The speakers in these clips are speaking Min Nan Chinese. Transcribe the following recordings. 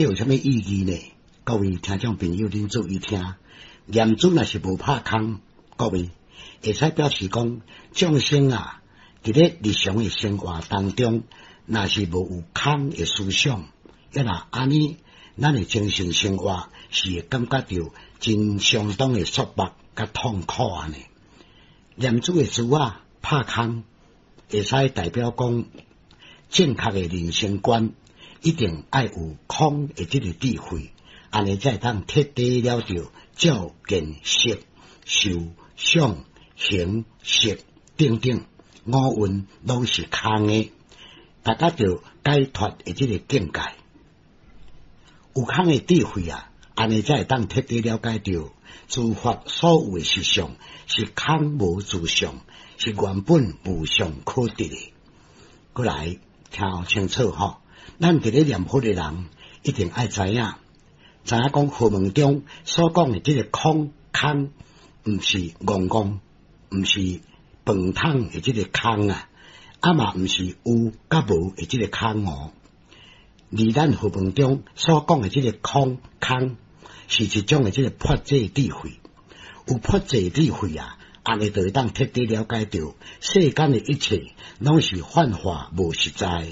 有啥物意義呢？各位聽眾朋友，恁注意聽，念珠若是無拍空，各位會使表示講，眾生啊，佇咧日常的生活當中，若是無有空的思想，抑若按呢，咱的精神生活是會感覺著真相當的束縛佮痛苦啊呢。念珠的珠仔拍空，會使代表講正確的人生觀，一定愛有空的這个智慧，按呢才會當徹底了著照見色、受、想、行、識等等五蘊攏是空的，達到著解脫的這个境界。有空的智慧啊，按呢才會當徹底了解著諸法所有的實相是空無自相，是原本無相可得的。過來聽清楚吼，咱佇咧念佛的人一定愛知影，知影講佛門中所講的這个空空，毋是戇戇，毋是飯桶的這个空啊，啊嘛毋是有佮無的這个空哦。而咱佛門中所講的這个空空，是一種的這个破解智慧。有破解智慧啊，按呢就會當徹底了解著世間的一切，攏是幻化無實在，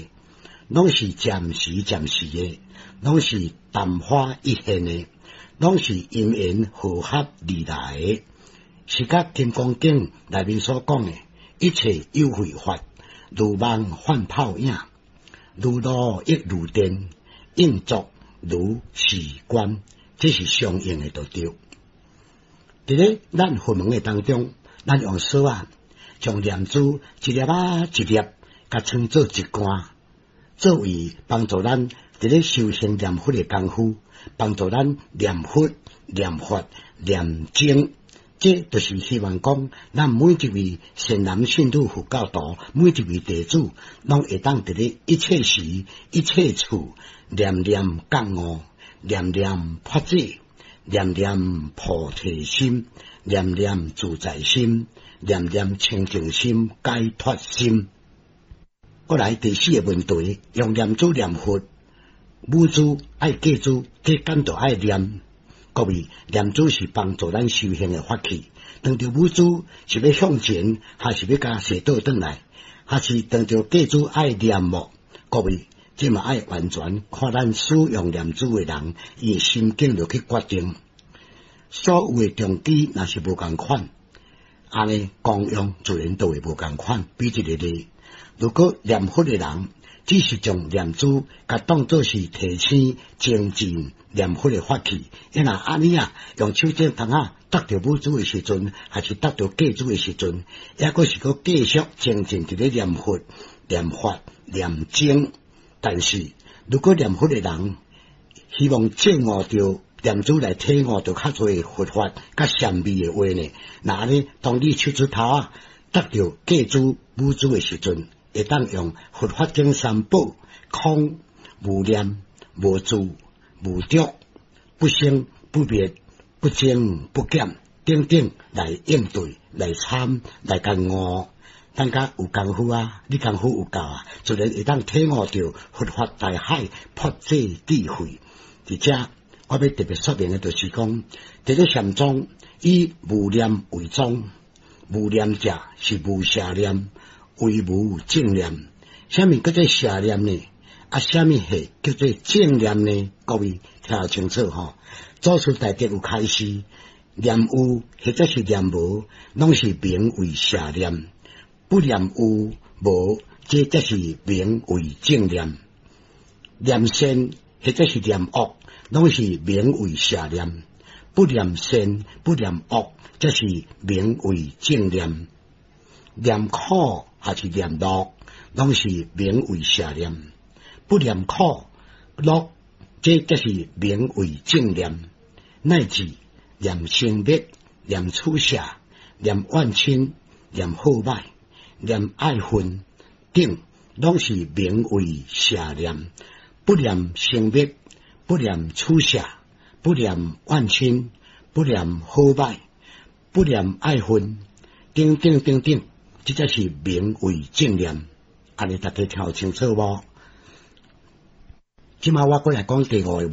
攏是暫時暫時的，攏是曇花一現的，攏是因緣和合而來的。是佮《金剛經》內面所講的，一切有為法，如夢幻泡影，如露亦如電，應作如是觀，這是相應的就對。佇咧咱佛門的當中，咱用索仔將念珠一粒仔一粒，共稱做一罐，作為幫助咱佇咧修行念佛的功夫，幫助咱念佛、念法、念僧。這就是希望講，咱每一位善男信女佛教徒，每一位弟子，攏會當佇咧一切時、一切處，念念覺悟，念念破解，念念菩提心，念念自在心，念念清淨心、解脫心。過來第四个問題，用念珠念佛，母珠愛繼珠，這敢著愛念。各位，念珠是幫助咱修行的法器。當著母珠是欲向前，還是欲共踅倒轉來，還是當著繼珠愛念無？各位，這嘛愛完全看咱使用念珠的人，伊的心境落去決定。所有的動機若是無仝款，按呢功用自然都會無仝款。比一个例，如果念佛的人只是將念珠共當做是提醒精進念佛的法器，抑若按呢啊，用手指頭仔觸著母珠的時陣，還是觸著繼珠的時陣，抑閣是閣繼續精進佇咧念佛、念法、念僧。但是，如果念佛的人希望證悟著念珠來體悟著較濟佛法、較禪味的話呢，那按呢，當你手指頭仔觸著繼珠、母珠的時陣，會當用佛法經三寶空、無念、無住、無著、不生不滅、不增不減等等來應對、來參、來共悟。等較有功夫啊，你功夫有夠啊，自然會當體悟著佛法大海破解智慧。佇遮，我欲特別說明的，就是講，佇咧禪宗以無念為宗，無念者是無邪念，唯無正念。啥物叫做邪念呢？啊，啥物係叫做正念呢？各位聽清楚吼。祖師大德有開示，念有或者是念無，攏是名為邪念；不念有無，這才是名為正念。念善或者是念惡，攏是名為邪念；不念善，不念惡，才是名為正念。念苦還是念樂，攏是名為邪念；不念苦樂，這才是名為正念。乃至念生滅、念取捨、念怨親、念好歹、念愛恨等，攏是名為邪念。不念生滅，不念取捨，不念怨親，不念好歹，不念愛恨，等等等等，這才是名為正念。按呢大家聽有清楚無？這馬我閣來講第五个問。